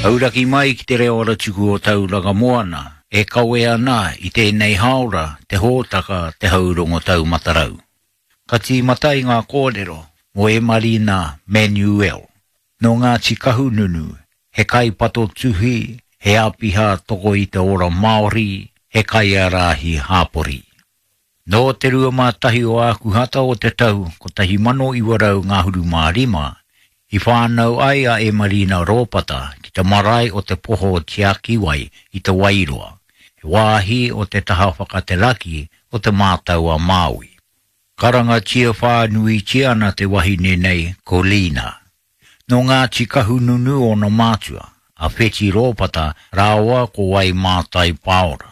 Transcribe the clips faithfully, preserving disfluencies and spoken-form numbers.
Auraki mai ki te reo aratuku o Tauranga Moana, e kawe ana i tēnei haora te hōtaka te haurongo taumatarau. Ka tīmata i ngā kōrero mō Emarina Manuel. Nō Ngāti Kahungunu, he kaipato tuhi, he āpiha toko i te ora Māori, he kaiārahi hapori. Nō te rua mā tahi o Ākuhata o te tau kotahi mano iwa rau ngahuru mā rima, i whānau ai a Emarina Rōpata ki te marae o te poho Tiakiwai i te Wairoa, he wāhi o te taha whakateraki o te Mātau a Māui. Karangatia whānuitia ana te wahine nei ko Lina. Nō Ngāti Kahungunu ōna mātua, a Wheti Rōpata rāua ko Waimātai Paora.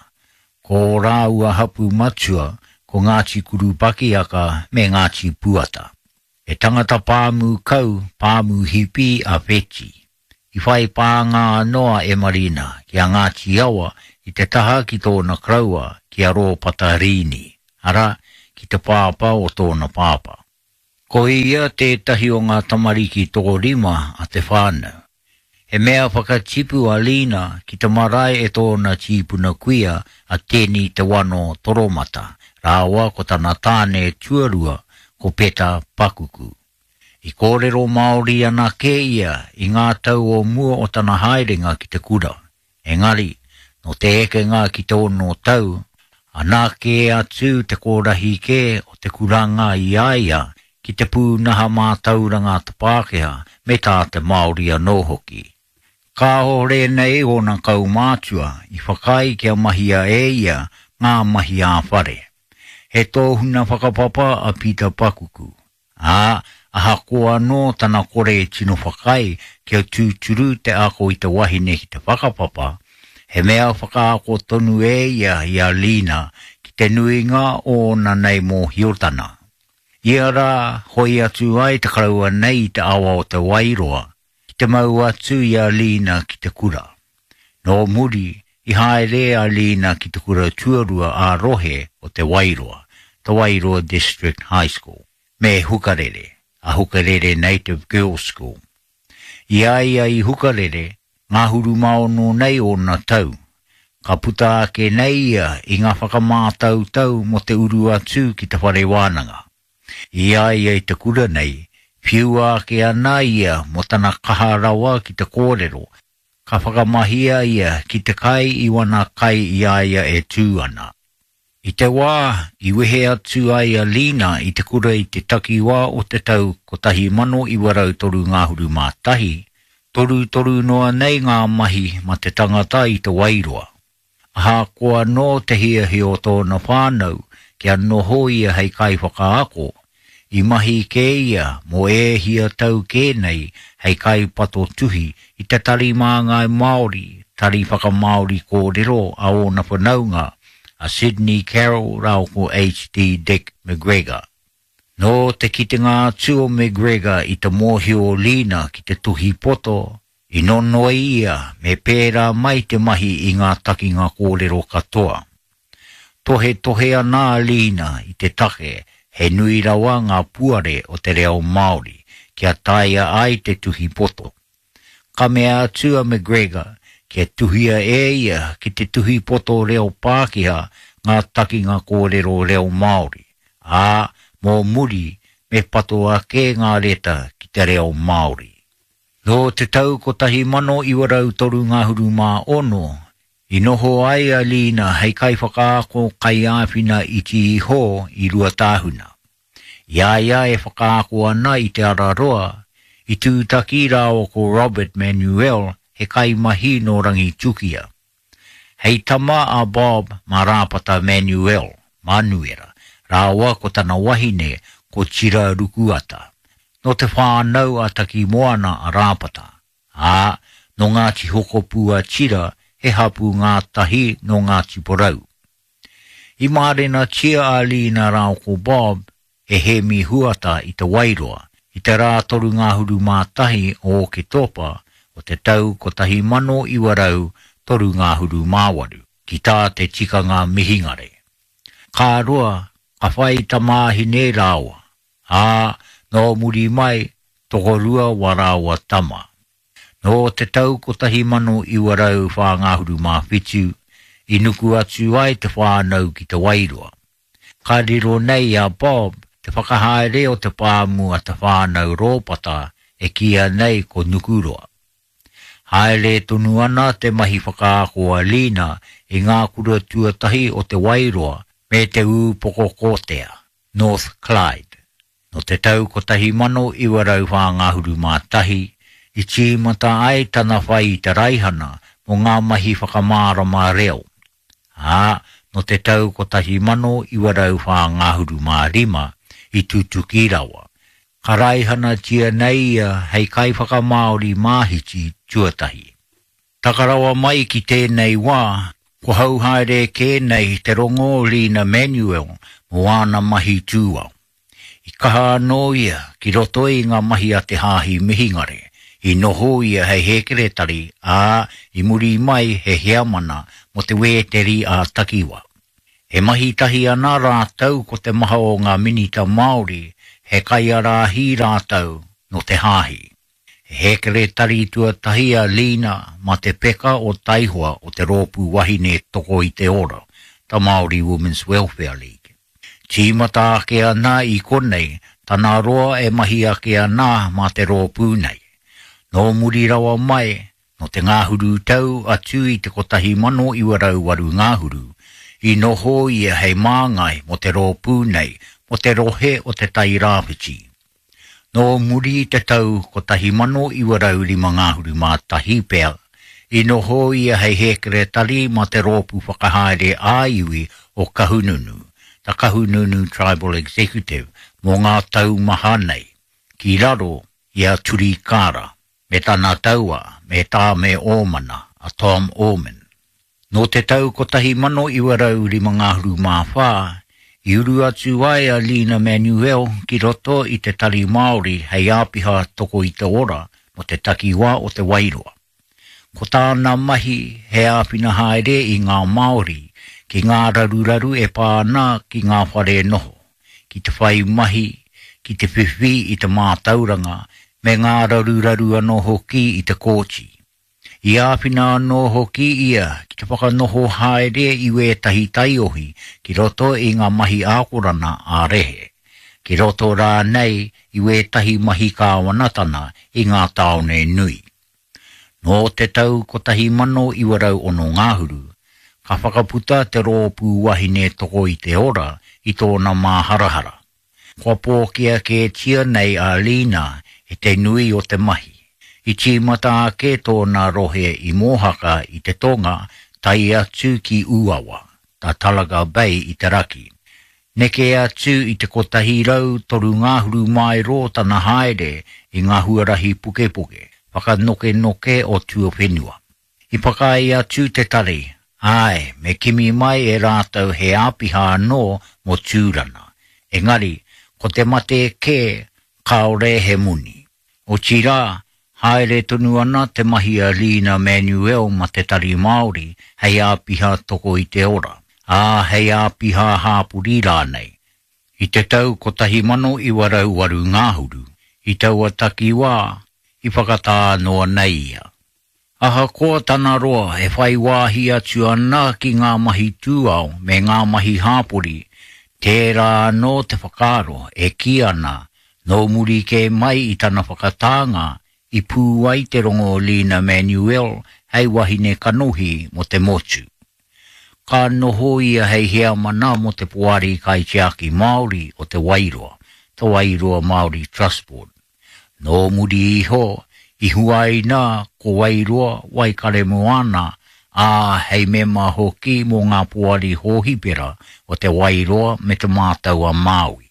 Ko rāua hapu matua ko Ngāti Kurupakiaka me Ngāti Puata. He tangata pāmu kau, pāmu hipi a Wheti. I whai pānga anō a Emarina ki a Ngāti Awa i te taha ki tōna koroua ki a Rōpata Rīni, arā, ki te pāpā o tōna pāpā. Ko ia tētahi o ngā tamariki tokorima a te whānau. He mea whakatipu a Lina ki te marae e tōna tīpuna kuia a Teni Te Wano Toromata, rāua ko tana tāne tuarua ko Peta Pakuku. I kōrero Māori anake ia i ngā tau o mua o tana haerenga ki te kura. Engari, nō te ekenga ki te ono tau, anā kē atu te kōrahi kē o te kuranga i a ia ki te pūnaha mātauranga a te Pākehā me tā te Māori anō hoki. Kāore nei ōna kaumātua i whakaae kia mahia e ia ngā mahi ā-whare. He tōhuna whakapapa a Peter Pakuku, ā, ahakoa anō tana kore tino whakaae kia tūturu te ako i te wahine ki te whakapapa, he mea whakaako tonu e ia i a Lina ki te nuinga o ōna nei mōhiotana. Ia rā, hoi atu ai te koroua nei i te awa o te Wairoa, ki te mau atu i a Lina ki te kura. Nō muri, i haere a Lina ki te kura tuarua a rohe o te Wairoa, te Wairoa District High School, me Hukarere, a Hukarere Native Girls School. I a ia i Hukarere, ngahuru mā ono nei ōna tau. Ka puta ake nei ia i ngā whakamātautau mō te uru atu ki te whare wānanga. I a ia i te kura nei, whiua ake ana ia mō tana kaha rawa ki te kōrero, ka whakamahia ia ki te kai i wana kai i a ia e tū ana. I te wā, i wehe atu ai a Lina i te kura i te takiwā o te tau kotahi mano iwa rau toru ngahuru mā tahi, toru toru noa nei ngā mahi ma te tangata i te Wairoa. Ahakoa nō te hiahia o tōna whānau kia noho ia hei kaiwhakaako, i mahi kē ia mō e hia tau kē nei hei kaipato tuhi i te tari māngai Māori, tari whakamāori kōrero a ōna whanaunga, a Sydney Carroll rāua ko H D Dick McGregor. Nō te kitenga atu o McGregor i te mōhio o Lina ki te tuhi poto, i nonoi ia me pērā mai te mahi i ngā takinga kōrero katoa. Tohe tohe ana a Lina i te take he nui rawa ngā puare o te reo Māori kia taea ai te tuhi poto. Ka mea atu a McGregor kia tuhia e ia ki te tuhi poto reo Pākehā ngā takinga kōrero reo Māori, ā, mō muri me pato ake ngā reta ki te reo Māori. Nō te tau kotahi mano iwa rau toru ngahuru mā ono, i noho ai a Lina hei kaiwhakaako kaiāwhina iti iho i Ruatāhuna. I a ia e whakaako ana i te Araroa, i tūtaki rāua ko Robert Manuel he kaimahi nō Rangitukia. Hei tama a Bob mā Rāpata Manuel, Manuera, rāua ko tana wahine ko Tira Rukuata. Nō te whānau a Takimoana a Rāpata, ā, nō Ngāti Hokopū a Tira he hapu ngātahi nō Ngāti Porou. I mārenatia a Lina rāua ko Bob e Hemi Huata i te Wairoa, i te rā toru ngahuru mā tahi o Oketopa o te tau kotahi mano iwa rau toru ngahuru mā waru, ki tā te tikanga mihingare. Ka roa, ka whai tamāhine rāua, ā, nō muri mai, tokorua wa rāua tama. Nō te tau kotahi mano iwa rau whā ngahuru mā whitu, i nuku atu ai te whānau ki Te Wairoa. Ka riro nei a Bob te whakahaere o te pāmu a te whānau Rōpata e kīia nei ko Nukuroa. Haere tonu ana te mahi whakaako a Lina i ngā kura tuatahi o Te Wairoa me te Ūpokokotea, North Clyde. Nō te tau kotahi mano iwa rau whā ngahuru mā tahi, i tīmata ai tana whai i te raihana mō ngā mahi whakamārama reo. Ā, nō te tau kotahi mano iwa rau whā ngahuru mā rima i tutuki rawa. Ka raihanatia nei ia hei kaiwhakamāori māhiti tuatahi. Taka rawa mai ki tēnei wā, ko hau haere kē nei te rongo o Lina Manuel mō āna mahi tūao. I kaha anō ia ki roto i ngā mahi a te hāhi mihingare, i noho ia hei hēkeretari, ā, i muri mai he heamana mō te wēteri a takiwa. E mahi tahi ana rātou ko te maha o ngā minita Māori, he kaiarāhi rātou nō te hāhi. He hēkeretari tuatahi a Lina mā te peka o Taihoa o te rōpū wahine toko i te ora, the Māori Women's Welfare League. Tīmata ake ana i konei, tana roa e mahi ake ana mā te rōpū nei. Nō muri rawa mai, nō te ngahuru tau atu i te kotahi mano iwa rau waru ngahuru, i noho ia hei māngai mō te rōpū nei, mō te rohe o te Tairāwhiti. Nō muri i te tau kotahi mano iwa rau rima ngahuru mā tahi pea, i noho ia hei hēkeretari mā te rōpū whakahaere ā-iwi o Kahungunu, the Kahungunu Tribal Executive, mō ngā tau maha nei, ki raro i a Turi Kara, me tana taua, me Tāme Ōmana, a Tom Orman. Nō te tau kotahi mano iwa rau rima ngahuru mā whā, i uru atu ai a Lina Manuel ki roto i te Tari Māori hei āpiha toko i te ora mō te takiwā o Te Wairoa. Ko tāna mahi he āwhina haere i ngā Māori ki ngā raruraru e pā ana ki ngā whare noho, ki te whai mahi, ki te whiwhi i te mātauranga, me ngā raruraru anō hoki i te kōti. I āwhina anō hoki ia ki te whakanoho haere i wētahi taiohi ki roto i ngā mahi ākorana ā-rehe, ki roto rānei i wētahi mahi kāwanatana i ngā tāone nui. Nō te tau kotahi mano iwa rau ono ngahuru, ka whakaputa te rōpū wahine toko i te ora i tōna māharahara. Kua pōkia kētia nei a Lina e te nui o te mahi. I tīmata ake tōna rohe i Mōhaka i te tonga tae atu ki Uawa, the Tolaga Bay i te raki. Neke atu i te kotahi rau toru ngahuru maero tana haere i ngā huarahi pukepuke, whakanokenoke o tuawhenua. I whakaae atu te tari, āe, me kimi mai e rātou he āpiha anō mō Tūrana. Engari, ko te mate kē, kāore he moni. Otirā, haere tonu ana te mahi a Lina Manuel ma te Tari Māori hei āpiha toko i te ora, ā hei āpiha hāpori rānei. I te tau kotahi mano iwa rau waru ngahuru, i taua takiwā, i whakatā noa nei ia. Ahakoa tana roa e whai wāhi atu ana ki ngā mahi tūao me ngā mahi hāpori, tērā anō te whakaaro e kī ana nō muri kē mai i tana whakatānga i pū ai te rongo o Lina Manuel hei wahine kanohi mō te motu. Ka noho ia hei heamana mō te poari kaitiaki Māori o Te Wairoa, Te Wairoa Māori Trust Board. Nō muri iho, i huaina ko Wairoa Waikaremoana, ā hei mema hoki mō ngā poari hōhipera o Te Wairoa me Te Mātau a Māui.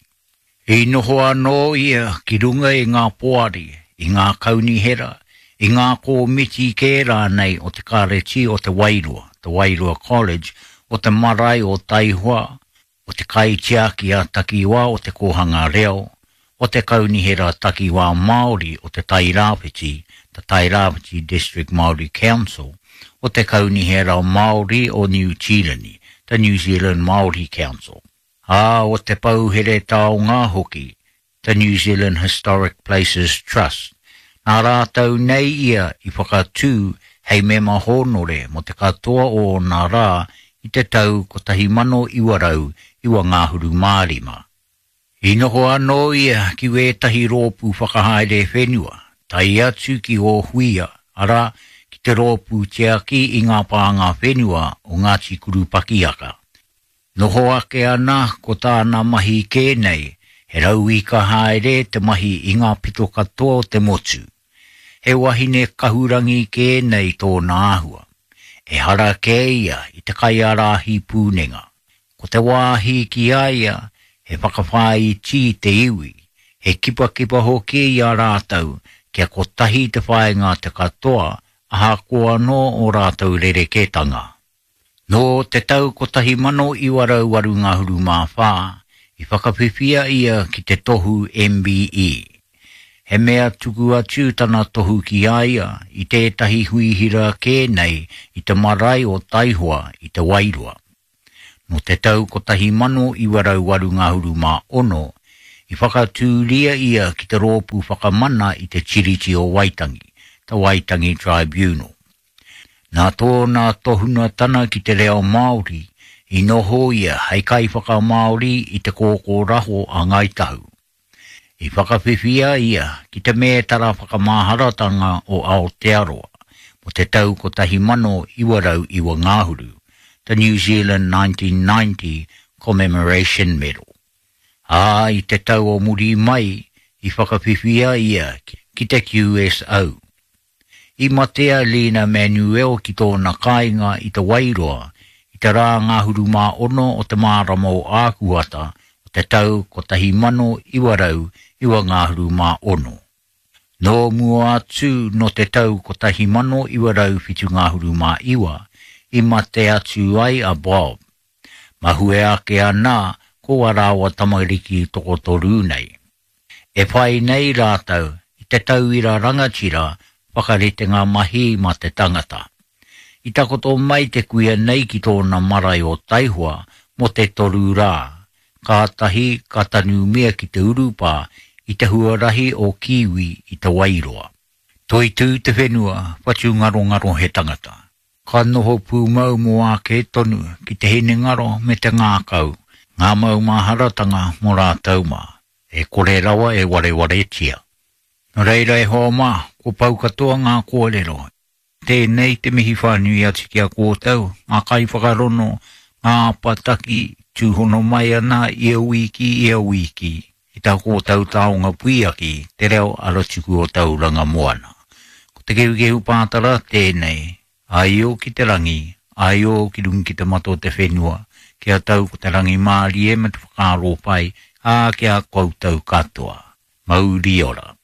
I noho anō ia ki runga i ngā poari, i ngā kaunihera, i ngā kōmiti kē rānei o te Kāreti o Te Wairoa, Te Wairoa College, o te marae o Taihoa, o te kaitiaki a takiwā o te kōhanga reo, o te kaunihera takiwā Māori o te Tairāwhiti, the Tairāwhiti District Māori Council, o te kaunihera Māori o Niu Tīreni, the New Zealand Māori Council. Ā, o te pouhere taonga hoki, the New Zealand Historic Places Trust, Nā rātou nei ia i whakatū hei mema hōnore mo te katoa o nā rā i te tau kotahi mano iwa rau iwa ngāhuru mārima. I noho anō ia ki wētahi rōpū whakahaere whenua, tai atu ki o huia, ara ki te rōpū tiaki i ngā pānga whenua o Ngāti Kurupakiaka. Noho ake ana ko tāna mahi kē nei, he rauika haere te mahi i ngā pito katoa o te motu. He wahine kahurangi kē nei tōna āhua. E hara kē ia i te kaiārahi pūnenga. Ko te wāhi ki a ia, he whakawhāiti te iwi, he kipakipa hoki i a rātou, kia kotahi te whāinga te katoa, ahakoa anō o rātou rerekētanga. Nō te tau kotahi mano iwa rau waru ngahuru mā whā, i whakawhiwhia ia ki te tohu M B E. He mea tuku atu tana tohu ki a ia i tētahi huihira kē nei i te marae o Taihoa i te Wairoa. Nō te tau kotahi mano iwa rau waru ngahuru mā ono, i whakatūria ia ki te rōpū whakamana i te Tiriti o Waitangi, te Waitangi Tribunal. Nā tōna tohuna tana ki te reo Māori, i noho ia hei kaiwhakamāori i te kōkōraho a Ngāi Tahu. I whakawhiwhia ia ki te mētara whakamaharatanga o Aotearoa mo te tau kotahi mano iwa rau iwa ngāhuru, the New Zealand nineteen ninety Commemoration Medal. Ā, i te tau o muri mai, i whakawhiwhia ia ki te Q S O. I matea Lena Manuel ki tōna kāinga i te Wairoa, i te rā ngāhuru mā ono o te marama o Ākuhata o te tau kotahi mano iwa rau iwa ngāhuru mā ono. Nō mua atu no te tau kotahi mano iwa rau whitu ngāhuru mā iwa, i mate atu ai a Bob. Mahue ake ana ko a rāua tamariki tokotoru nei. E whai nei rātou i te tauira rangatira whakaritenga mahi mā te tangata. I takoto mai te kuia nei ki tōna marae o Taihoa mo te toru rā. Kātahi ka tanumia ki te urupā i te huarahi o Kiwi i te Wairoa. Toitū te whenua, whatu ngarongaro he tangata. Ka noho pūmau mō ake tonu ki te hinengaro me te ngākau, ngā maumaharatanga mō rātou mā, e kore rawa e warewaretia. Nō reira e hoa mā, ko pau katoa ngā kōrero. Tēnei te mihi whānui atu ki a kōtou, ngā kaiwhakarono, ngā apataki, tūhono mai ana ia wiki ia wiki, i tā kōtou taonga puiaki, te reo aratuku o Tauranga Moana. Ko te kehukehu pātara tēnei, aio ki te rangi, aio ki runga ki te mata o te whenua, kia tau ko te rangi mārie me te whakaaro pai, ā kia koutou katoa. Mauri ora.